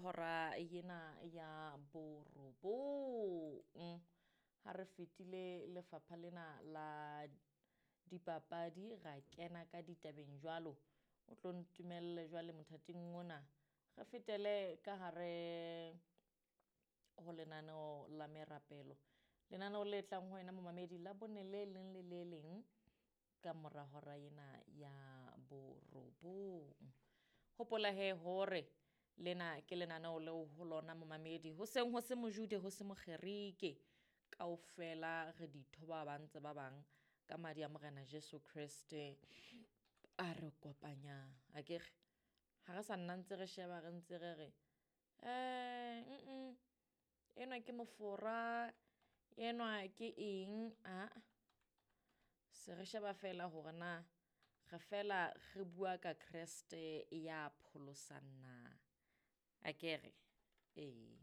hora ena ya borobong. Ha re fetile lefapha lena la dipapadi ra kena ka ditabeng jwalo. O tlo ntumelle jwale mothating ona re fetele ka hare ho lenaneo la merapelo. Lenaneo le tlang ho wena momamedi la bone le leng le le leng ka mora hora ena ya borobong. Hopola he hore lena ke lenaneo leo ho lona momamedi ho seng ho se mojude ho se mokgerike, kaofela re ditho ba bang tse ba bang ka madi a Morena Jesu Kreste a re kopanyang. Akere ha re sa nna ntse re sheba re ntse re re enwa ke mofora, enwa ke eng, aa. Se re sheba fela hore na re fela re bua ka Kreste ya pholosang na. Akere? Ee.